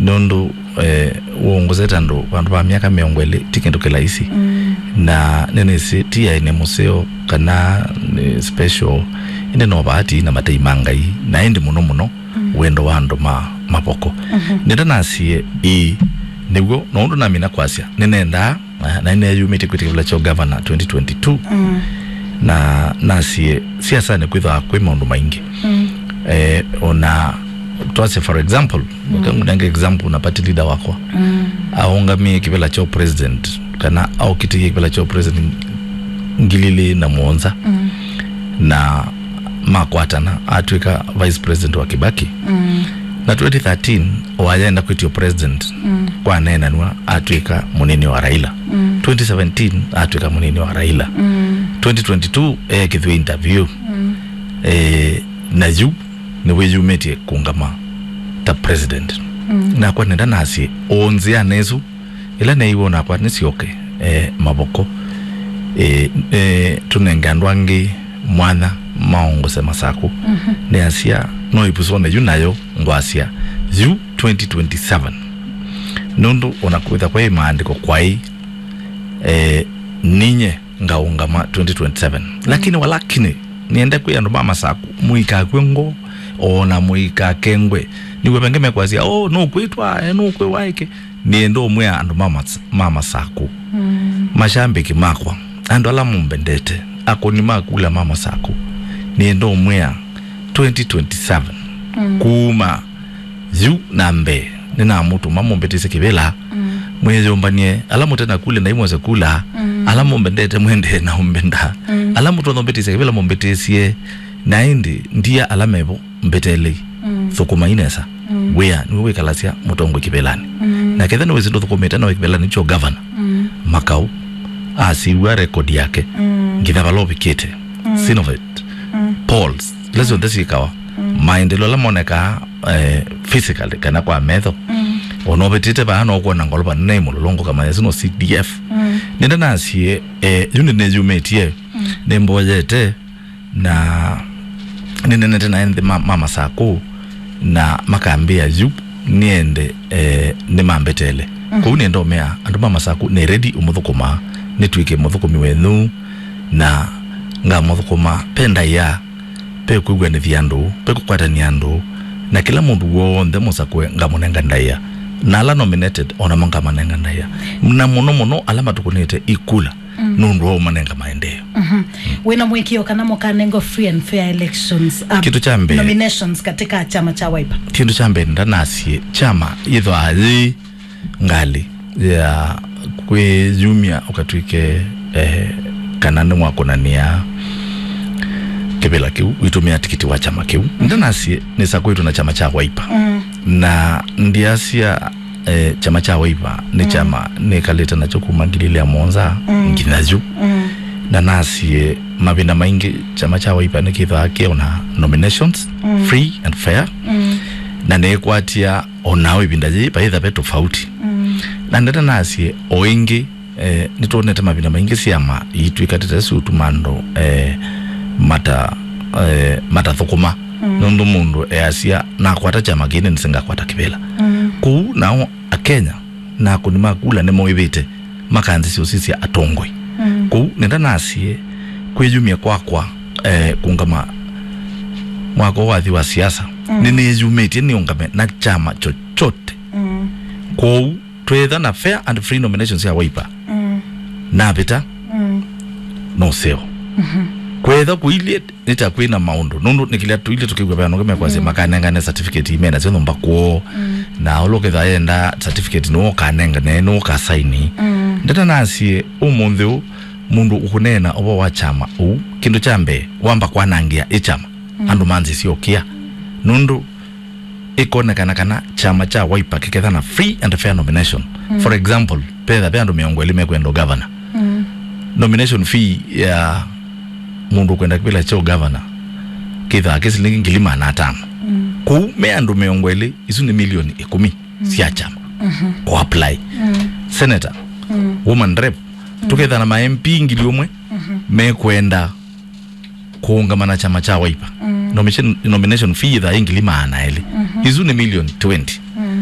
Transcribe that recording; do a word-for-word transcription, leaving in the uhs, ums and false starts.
Nũndũ eh, wongozete andũ vandũ va myaka mĩongo ĩlĩ ti kĩndũ kĩlaisi. Na nĩnĩsĩ ti aĩ nĩ mũseo kana nĩ special, ĩndĩ no vaati na matei ma Ngai, na ĩndĩ mũno mũno wendo wa andũ ma mavoko. Nĩnda nasie ĩĩ, nĩw'o, na ũndũ namina kwasya, nĩnendaa na, na nĩneyumĩtye kwĩtĩkĩla kyo gavana twenty twenty-two. Na nasie siasanĩ kwĩthwa kwĩ maũndũ maingĩ. Eh, ona twasye, for example, ngangunenge example na party leader wakwa aũngamie kĩvĩla kyo president, kana aũkitĩie kĩvĩla kyo president ngili ilĩ na mũonza, na makwatana, atw'ĩka vice president wa Kibaki. Na twenty thirteen, wayenda kwĩtio president, kwaneenanw'a, atw'ĩka mũnini wa Raila. Twenty seventeen, atw'ĩka mũnini wa Raila. Twenty twenty-two, eekĩthw'e interview. Eh, na yu nĩwĩyumĩtye kũngama ta president. Nakwa nĩnda nasye, o nzĩanĩ ĩsu, ĩla neeiwe onakwa nĩsyoke, eh, mavoko. Eh, eh, tũnenge andũ angĩ mwanya maongose Masakũ. Nĩasya, no ĩpusone yu nayo ngwasya, yu twenty twenty-seven. Nũndũ ona kwĩtha kwa maandĩko kwaĩ, eh, ninye ngaũngama twenty twenty-seven. Lakini walakini, niende kwĩ andũ ma Masakũ, mũikakw'e ngo, ona mũikakengwe. Nĩw'o vengĩ mekwasya, "Oh, nũkwĩtwa, eh, nũkwĩwa ĩkĩ." Nĩenda ũmwĩa andũ ma Mas-, ma Masakũ, mashambĩki makwa, andũ ala mũmbendete, akũni ma kula ma Masakũ, nĩenda ũmwĩa twenty twenty-seven, kuma yu na mbee, nĩnamũtũma mũmbĩtĩsye kĩvĩla, mwĩyũmbany'e, ala mũte na kula, na imwose kula, ala mũmbendete, mwendee na ũmbenda, ala mũtonya ũmbĩtĩsya kĩvĩla, mũmbĩtĩsye, na ĩndĩ ndia ala mevo mbĩtelei. Thũkũmai nesa. Wĩa nĩw'o wĩkalasya mũtongoi kĩvĩlanĩ. Na ketha nĩwĩsĩ ndũthũkũmĩte nawe kĩvĩlanĩ kyo gavana, Makau asiw'a rekodi yake, nginya vala ũvikĩte. Synovate, polls, ila syonthe syĩkawa, maendeleo ala monekaa, eh, physically kana kwa metho. Ona ũvĩtĩte vaa no ũkwona ngolova nene ĩ mũlũlũngũ kamanya sino C D F. Nĩnda nasie, eh, yu nĩnĩyumĩtie, nĩmboyete, na nĩnenete na ene nthĩ ma, ma Masakũ, na makambĩa yu nĩende, eh, nĩmambetele. Kũu nĩenda ũmea andũ ma Masakũ nĩ ready ũmũthũkũma, nĩtw'ĩke mũthũkũmi wenyu, na ngamũthũkũma pe ndaĩa, pe kwĩw'anĩthya andũ, pe kũkwatany'a andũ, na kĩla mũndũ w'onthe mũsakũe ngamũnenga ndaĩa, na ala nominated onamo ngamanenga ndaĩa, na mũno mũno ala matũkũnĩte ikula nũndũ wa ũmanenga maendeeo. Wĩna mũĩkĩĩo kana mũkanengwa free and fair elections, uh, Kĩndũ kya mbee, nominations katika chama cha Wiper? Kĩndũ kya mbee ndanasye kyama yĩthwaa yĩ ngalĩ ya kwĩyumya ũkatw'ĩke, eh, kana nĩwakũnanĩa kĩvĩla kĩu wĩtũmĩa tikiti wa kyama kĩu. Ndanasye nĩsakũĩtwe na kyama kya Wiper. Na ndiasya, eh, kyama kya Wiper nĩ kyama nĩkalĩte nakyo kuma ngili ilĩ na mũonza nginya yu. Na nasie mavinda maingĩ kyama kya Wiper nĩkĩthwaa kĩona nominations free and fair. Na nĩkwatya onao ĩvinda yĩĩ vaĩtha ve tofauti. Na ndata nasie o ĩngĩ, eh, nĩtwonete mavinda maingĩ syama iitw'ĩka tete siũtuma andũ, eh, mata, eh, matathũkũma. Nũndũ mũndũ easya, "Nakwata kyama kĩĩ, nĩnĩsĩ ngakwata kĩvĩla." Kũu nao Akenya na akũni ma kula nĩmoĩvĩte makanzĩsya ũsisya atongoi. Kũu nĩnda nasie kwĩyumya kwakwa, eh, kũngama mwaka ũũ wathi wa siasa, nĩnĩyumĩtye nĩũngame na kyama chochote. Kwoou twĩtha na fair and free nominations ya Wiper, navĩta, no seo. Kwĩtha kũilyĩ nĩ ta kwĩ na maũndũ, nũndũ nĩ kĩla tũilye tũkĩw'a ve andũ angĩ mekwasya makanengane certificate ime nasyo nyũmba kwoo, na ũla ũkethwa yenda certificate nĩwe ũkanengane, nĩwe ũkasaini. Ndata nasie ũmũnthĩ ũũ, mũndũ ũkũneena ũvoo wa kyama ũu, kĩndũ kya mbee wamba kwanangĩa ĩ kyama, andũ manzĩsya ũkĩa, nũndũ ĩkonekana kana kyama kya Wiper kĩketha na free and fair nomination. For example, petha ve andũ mĩongo ĩlĩ mekwenda ũgavana. Nomination fee ya mũndũ ũkwenda kĩvĩla kya ũgavana kĩthaa kĩ silingi ngili maana atano. Kũu me andũ mĩongo ĩlĩ, isu nĩ milioni ĩkũmi sya kyama kũ apply. Senator, woman rep, tũketha na ma M P ngili ũmwe mekwenda kũũngama na kyama kya Wiper. Nomination, nomination fee yĩthaa yĩ ngili maana elĩ. Isu nĩ million twenty.